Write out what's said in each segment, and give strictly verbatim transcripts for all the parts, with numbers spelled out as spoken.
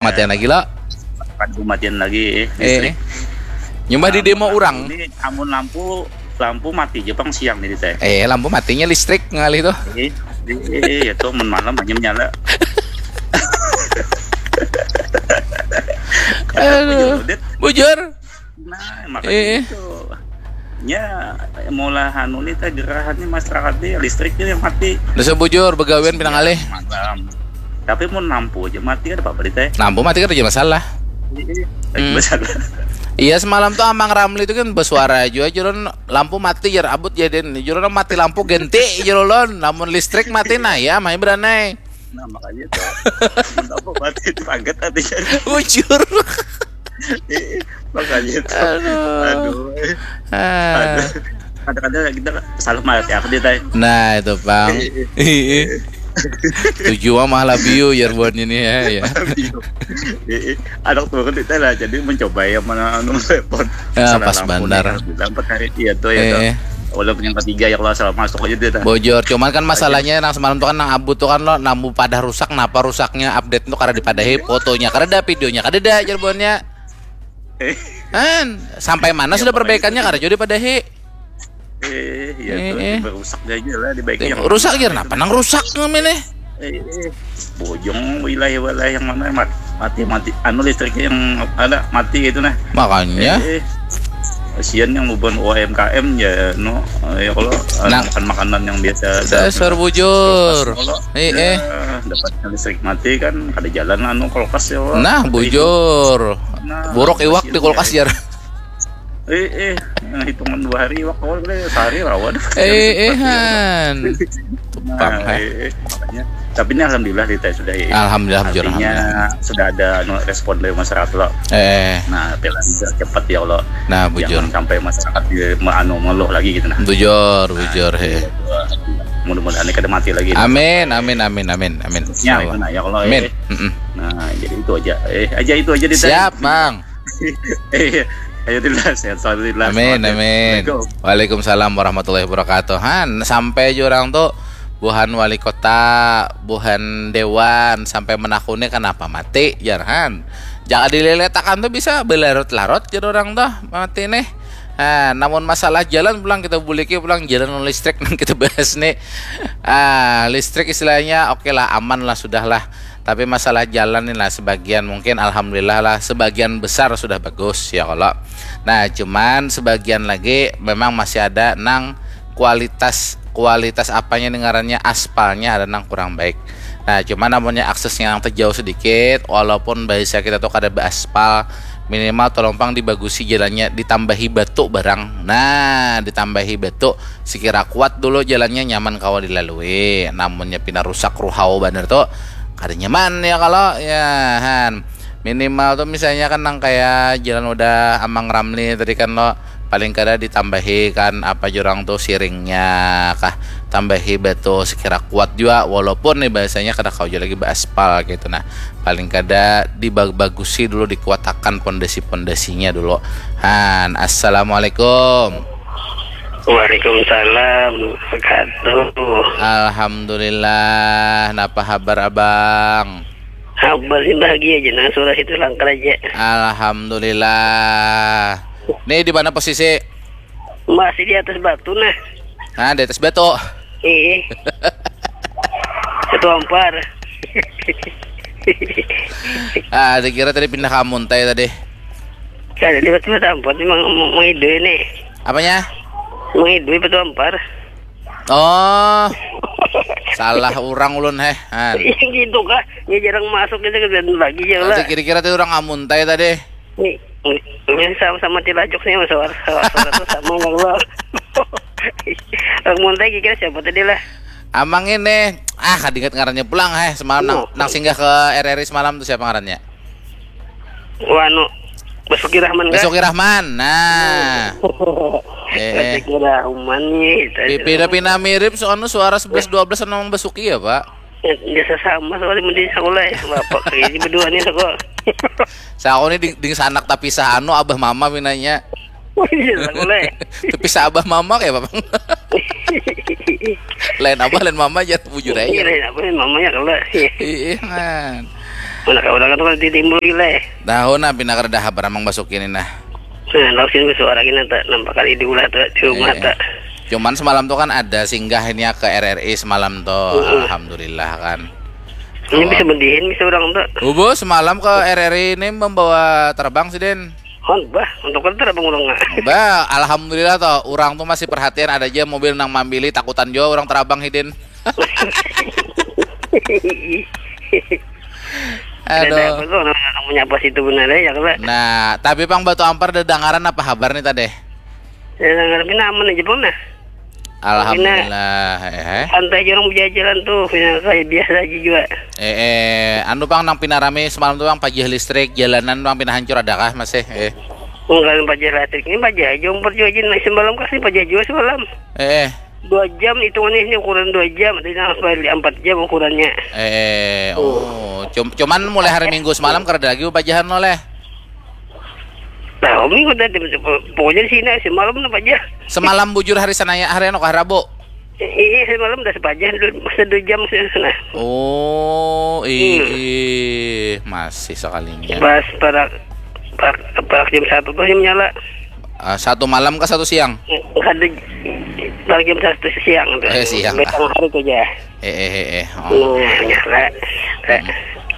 Matian lagi lo. Kada matian lagi eh, Eh, listrik. nyumbah di demo Amun orang. Ini amun lampu lampu mati aja pang siang nih teh. Eh, lampu matinya listrik ngalih tuh. Eh, eh, ya tuh mun malam hanya menyala. Aduh. Bujur, Dit. Bujur. Nah, makanya Eh. Itu. Ya, mula anu nih teh gerahan nih masyarakat nih listrik nih yang mati. Udah bujur begawian pinang alih. Malam. Tapi mau lampu aja mati kan apa berita ya? Lampu mati kan aja masalah. Iya, Hmm. Masalah. Iya, semalam tuh Amang Ramli itu kan bersuara juga, juron lampu mati jar abut jadin. Juron mati lampu ganti juron. Lamun listrik mati nah ya main beranai. Nah, makanya tuh. Lampu mati itu kaget hatinya. Bujur. Iya, makanya tuh. Aduh. Aduh. Eh. Ah. Aduh. Kadang-kadang kita salah malah ya dia teh. Nah, itu pang. Iya. Tujuh mah malah biu jar buat ini ya, ya. Iya. Anak turun kita lah, jadi mencoba yang mana anu telepon. Ya, Salah pas lampu bandar. Nih, bilang, "Empat hari iya tuh ya tuh." Eh. Walaupun yang ketiga ya kalau salah masuk aja dia teh. Bojor, cuman kan masalahnya nang semalam tuh kan nang abut tuh kan lo lampu pada rusak, napa rusaknya update tuh kada dipadahi fotonya kada ada, videonya kada ada jar buannya. Eh, Kan sampai mana sudah perbaikannya kada jauh dipadahi. eh, iya Eh, tuh eh. Rusak aja lah dibaiki yang Rusak jar napa nang rusak ngamene. Eh, eh. Bojong wilayah-wilayah yang mana mat- mati mati anu listriknya yang ada mati gitu nah. Makanya Eh, eh. Kasihan yang beban U M K M ya no ya kalau eh, Nah. Makan makanan yang biasa dasar bujur. Kalau Eh, eh. Dapatnya listrik mati kan ada jalan anu kulkas ya Allah. Nah, bujur. Nah, Buruk iwak di kasihan kulkas ya. Jar. Eh, eh, nah, hitungan dua hari iwak awal boleh sehari rawa dah. Eh, eh, Listrik mati, ya. han. Nah, Pang, ha. eh, eh, makanya. Tapi ini alhamdulillah kita sudah ya. Alhamdulillah, bujur, Artinya alhamdulillah. Sudah ada anu, respon dari masyarakat lo. Eh, Nah, pelan cepat ya Allah. Nah, bujur. Jangan sampai masyarakat di anu ngeluh lagi gitu nah. Bujur, bujur, he. Mudah-mudahan ini kada mati lagi. Amin, amin, amin, amin, amin. Ya, itu nah ya Allah. Amin. Eh. Mm-mm. Nah, jadi itu aja. Eh, aja itu aja di Siap, Bang. Eh, ayo Dila, sehat selalu Dila. Amin, amin. Assalamualaikum. Waalaikumsalam warahmatullahi wabarakatuh. Han, sampai jurang tuh buhan wali kota, buhan dewan sampai menakuni kenapa mati, jar han. Jangan dileletakan tuh bisa belarut-larut jar orang tuh mati nih. Nah, namun masalah jalan pulang kita buliki pulang jalan listrik nang kita bahas nih. Ah, listrik istilahnya oke lah, aman lah, sudah lah. Tapi masalah jalan nih lah sebagian mungkin alhamdulillah lah sebagian besar sudah bagus ya kalau. Nah, cuman sebagian lagi memang masih ada nang kualitas kualitas apanya nih ngarannya aspalnya ada nang kurang baik. Nah, cuman namunnya aksesnya yang terjauh sedikit walaupun bahasa kita tuh kada beraspal minimal tolong pang dibagusi jalannya ditambahi batu barang. Nah, ditambahi batu sekira kuat dulu jalannya nyaman kawa dilalui. Namunnya pina rusak ruhau banar tuh kada nyaman ya kalau ya han. Minimal tuh misalnya kan nang kayak jalan udah Amang Ramli tadi kan lo paling kada ditambahi kan apa jurang tuh siringnya kah tambahi batu sekira kuat juga walaupun nih bahasanya kada kau lagi beraspal gitu nah paling kada dibagusi dulu dikuatakan pondasi-pondasinya dulu. Han, assalamualaikum. Waalaikumsalam. Wabarakatuh. Alhamdulillah. Napa habar abang? Habar sih bahagia aja nah surah itu langkar aja. Alhamdulillah. Nih di mana posisi? Masih di atas batu nah. Nah, di atas batu. Iya. Satu ampar. Ah, dikira tadi pindah ke Muntai tadi. Saya di batu ampar memang mengidu ini. Apanya? Mengidu batu ampar. Oh. Salah orang ulun heh. Han. Iya gitu kah? Ya jarang masuk gitu kan bagi ya lah. Tadi kira-kira tadi orang Amuntai tadi. Ini, ini sama-sama tilajok sih mas suara suara suara tuh sama ya Allah. Orang Muntai kira siapa tadi lah? Amang ini ah kadingat ngarannya pulang heh semalam nang, Oh. Nang singgah ke R R I semalam tuh siapa ngarannya? Wanu Basuki Rahman kah? Basuki Rahman. Nah. Eh, eh. Basuki Rahman nih. Pi- Pina-pina mirip soalnya suara sebelas dua belas sama Basuki ya, Pak? Biasa sama soalnya mending sekolah ya. Bapak kayak ini berdua nih sekolah. Saya aku nih ding, ding sanak tapi sahanu abah mama pinanya. Oh iya sekolah ya. Tapi sa abah mama kayak apa? Lain abah lain mama aja bujur Iya aja. lain apa nih mamanya kalau. Iya kan. Mana kau orang tu kalau ditimbul gila eh. Tahu nah, pina kada ada habar amang Basuki ni nah. Nah, lalu sini suara gini tak nampak kali diulah tak di rumah eh, tak. Cuman semalam tu kan ada singgah ini ya ke R R I semalam tu. Uh-uh. Alhamdulillah kan. Ini bisa mendihin bisa orang tu. Ubo semalam ke R R I ini membawa terbang sih Den. Hon, bah, untuk kerja apa ngurung ah? Bah, alhamdulillah toh, orang tu masih perhatian ada aja mobil nang mambili takutan juga orang terabang hidin. Aduh. Ada apa tuh orang menyapa situ benar ya kalau. Nah, tapi pang batu ampar ada dengaran apa habar nih tadi? Ya dengar pina aman aja pun nah. Alhamdulillah. Eh. Santai aja orang berjalan tuh, pina kayak biasa aja juga. Eh, eh, anu bang nang pina rame semalam tuh bang pajah listrik, jalanan bang pina hancur adakah masih? Eh. Enggak pajah listrik ini pajah aja umpet juga aja nah, semalam kasih pajah juga semalam. Eh. Dua jam hitungannya ini ukuran dua jam, ada yang balik empat jam ukurannya. Eh, oh, cum- cuman mulai hari Minggu semalam kerja lagi pajahan oleh. Nah, minggu tadi pokoknya di sini semalam apa aja. Semalam bujur hari Senaya, hari anu kah Rabu? Iya, semalam udah sepaja dua, masa dua jam sih sana. Oh, iya, hmm. Masih sekalinya. Pas para para, para jam satu tuh yang nyala. Uh, satu malam ke satu siang? Ada para jam satu siang tuh. Eh, siang. Betang hari tuh ya. Eh, eh, eh, eh. Oh. Hmm, nyala. Hmm.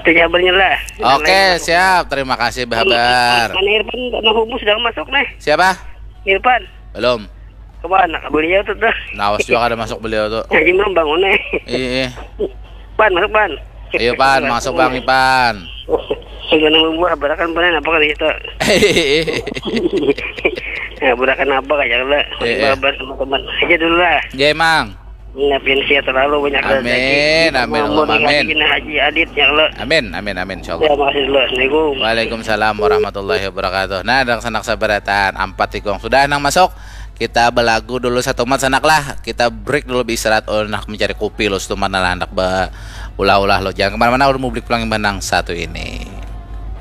Itu kabarnya lah. Oke, siap. Terima kasih, Bahabar. Mana Irfan? Karena humus sudah masuk nih. Siapa? Irfan. Belum. Kemana beliau tuh tuh? Nawas juga ada masuk beliau tuh. Haji belum bangun nih. Iya. Pan masuk pan. Iya pan, masuk bang Ipan. Segala membuat berakan panen apa kali itu? Ya berakan apa kayak lah. Iya. Sama teman aja dulu lah. Iya emang. Ngapin sia terlalu banyak rezeki. Amin, amin, Allahumma amin. Haji Adit ya Allah. Amin, amin, amin insyaallah. Ya, makasih dulu. Assalamualaikum. Waalaikumsalam warahmatullahi wabarakatuh. Nah, ada sanak sabaratan ampat tikung sudah nang masuk. Kita belagu dulu satu mat sanak lah. Kita break dulu istirahat oh, nak mencari kopi lo setumat lah anak ba ulah-ulah lo. Jangan kemana-mana udah mublik pulang yang benang satu ini.